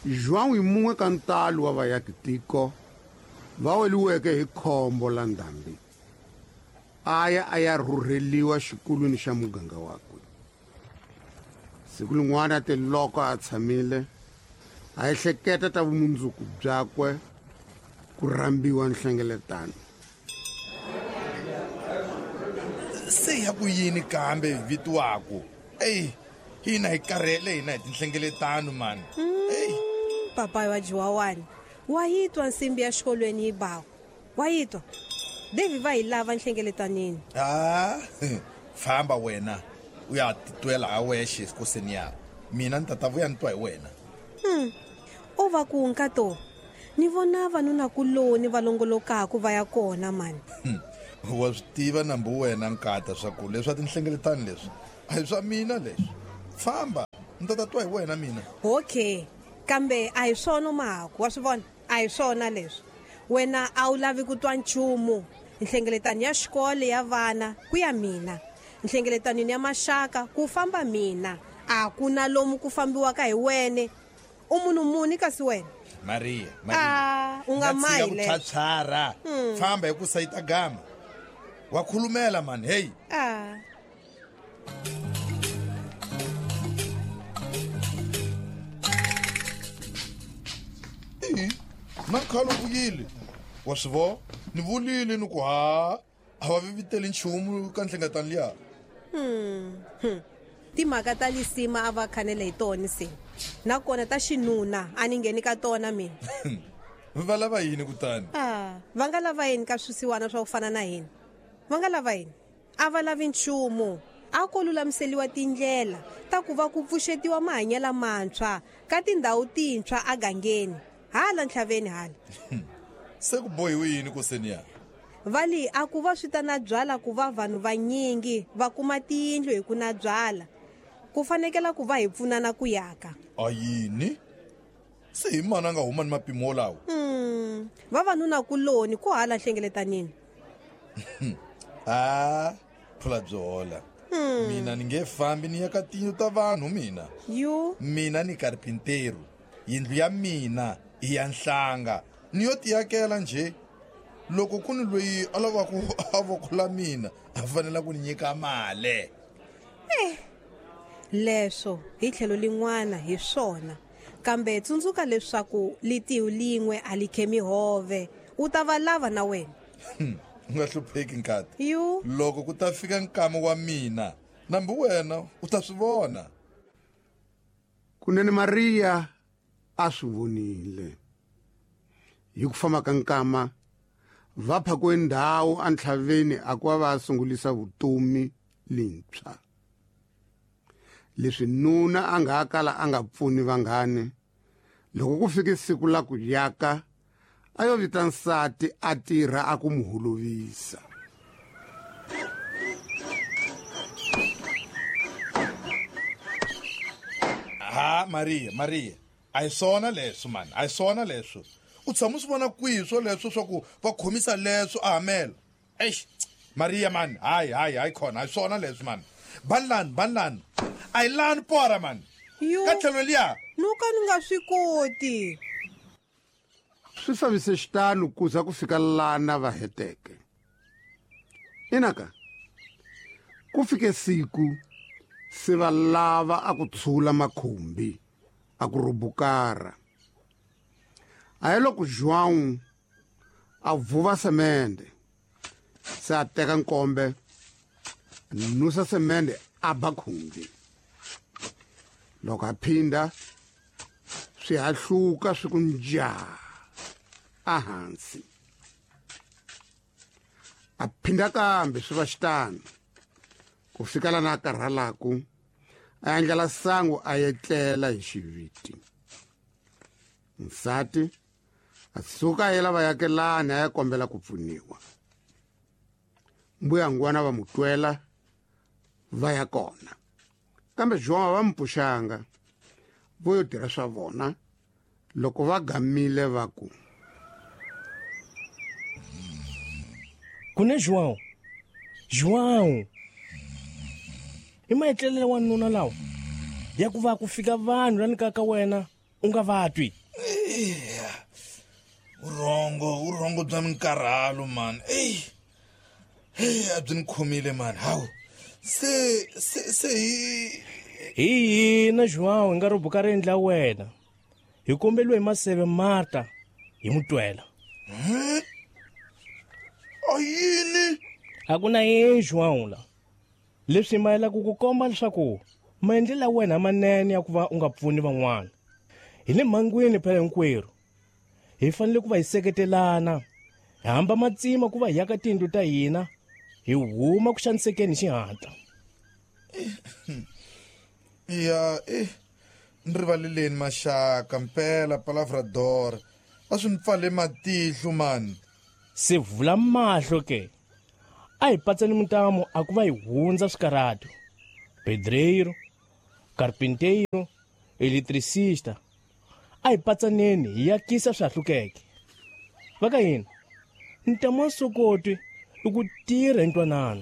João i mun'we ka ntalo wa vayakitiko va weliweke hi khombo la ndhambi. A ya a ya rhurheliwa xikulwini xa muganga wakwe. Siku lin'wana te loko a tshamile a ehleketa ta vumundzuku byakwe ku rhambiwa nhlengeletano. Se ya ku yini kambe hi vitiwaku? Eyi, hina hi karhele hina hi tinhlengeletano mani. Eyi. Papayi wa Jiwawani, wa yi twa nsimbi ya xikolweni yi baku? Wa yi twa? Devi va hi lava nhlengeletanini. Ah, famba wena u ya titwela ha wexe koseni ya mina ni tata vuya ni twa hi wena. O va ku nkato ni vona vanunakuloni va longolokaku va ya kona mani. Wa swi tiva nambu wena nkata swa ku leswa tinhlengeletano leswi a hi swa mina leswi. Famba ni tata twa hi wena mina. Okay, kambe a hi swona mahaku, wa swi vona? A hi swona leswi. Wena a wu lavi ku twa nchumu. Nhlengeletano ya xikolo ya vana ku ya mina. Nhlengeletanweni ya maxaka ku famba mina. A ku na lomu ku fambiwaka hi wene. U munhu muni kasi wena? Maria, Maria. Ah, u nga mahi ku leswo. phyaphyara. Famba hi ku sayita gama. Wa khulumela mani, hey. Ah. Ihi, na khale u vuyile. Wa swi vona? Ni vulile ni ku ha a va viviteli nchumu ka nhlengeletano liya. Timhaka ta lisima a va khanele hi tona se. Nakona ta xinuna a ni ngheni ka tona mina. Va lava yini kutani? Ah, va nga lava yini ka swisiwana swa ku fana na hina? Va nga lava yini? A va lavi nchumu. A ko lulamiseliwa tindlela ta ku va ku pfuxetiwa mahanyelo mantshwa ka tindhawu tintshwa agangeni. Hala ntlhaveni hala. Se ku bohiwe yini koseni ya? Va li a ku va swi ta na byala ku va vanhu vanyingi va kuma tiyindlu hi ku na byala. Ku fanekela ku va hi pfunana ku yaka. A yini? Se hi mani a nga huma ni mapimo wolawo? Vavanuna kuloni ku hala hlengeletanini. Ah, phula byi hola. Mina ni nge fambi ni ya ka tiyindlu ta vanhu mina. Yu. Mina ni karpinteru. Yindlu ya mina i ya nhlanga. Ni yo tiyakela nje. Loko ku ni loyi a lavaka a voko la mina, a fanele ku ni nyika mali. Leswo hi tlhelo lin'wana hi swona. Kambe tsundzuka leswaku litihu lin'we a li khemi hove. U ta va lava na wena. U nga hlupheki nkati. Yu. Loko ku ta fika nkama wa mina, nambi wena u ta swi vona. Kunene Maria a swi vonile. Hi ku famba ka nkama va phakiwe ndhawu entlhaveni a ku va va sungulisa vutomi lintshwa. Leswi nuna a nga kala a nga pfuni vanghani, loko ku fike siku la ku yaka a yo vita nsati a tirha a ku mu holovisa. Ha Maria, Maria, a hi swona leswo mani, a hi swona leswo. U tshama u swi vona kwihi swoleswo swa ku va khomisa leswo a hamela? Eish, Maria mani, hayi, hayi, hayi khona, a hi swona leswo mani. Banlani, banlani. A hi lani pora mani. Yo. Ka tlhelo liya. No ka ni nga swi koti. Swi fambise xitano ku za ku fika lana va heteke. Inaka ku fike siku se va lava a ku tshula makhumbi a ku rubukara. A hi loko João a vuva semende, se a teka nkombe nusa semende a ba khumbi. Loko a phinda swi hahluka swi ku njaa ehansi. A phinda kambe swi va xitano ku fika lana a karhalaku, a endlela sangu a etlela hi xiviti. Nsati a suka a yela vayakelani a ya kombela ku pfuniwa. Mbuyangwana va mu twela va ya kona, kambe João va mu pfuxanga, vo yo tirha swa vona. Loko va gamile va ku, Kune João, João, i maetlelele wa nuna lawa ya ku va ku fika vanhu la nyikaka wena U nga va twi. Vurhongo, vurhongo bya minkarhalo mani. Eyi, hey, a byi ni khomile mani. Hawu, se se se hi Hi hina João hi nga rhubuka riendli la wena. Hi kombeliwe hi Maseve Marta hi n'wi twela. A yini? A ku na yini João la. Leswi mayelaka ku komba leswaku maendlelo ya wena manene ya ku va u nga pfuni van'wana. Hi le mhangwini phela hinkwerhu. Hi fanele ku va hi seketelana. Hi hamba matsima ku va hi yaka tiyindlu ta hina, hi huma ku xanisekeni hi xihatla. Ya, eh, ni rivaleleni maxaka mpela palavrador. A swi ni pfale matihlo mani. Se vula mahlo ke. A hi patsani mintamu a ku va hi hundza swikarhato. Pedreiro, carpinteiro, eletricista. A hi patsaneni hi yakisa swihahlukeke. Va ka hina, ntamu wa sokoti i ku tirha hi ntwanano.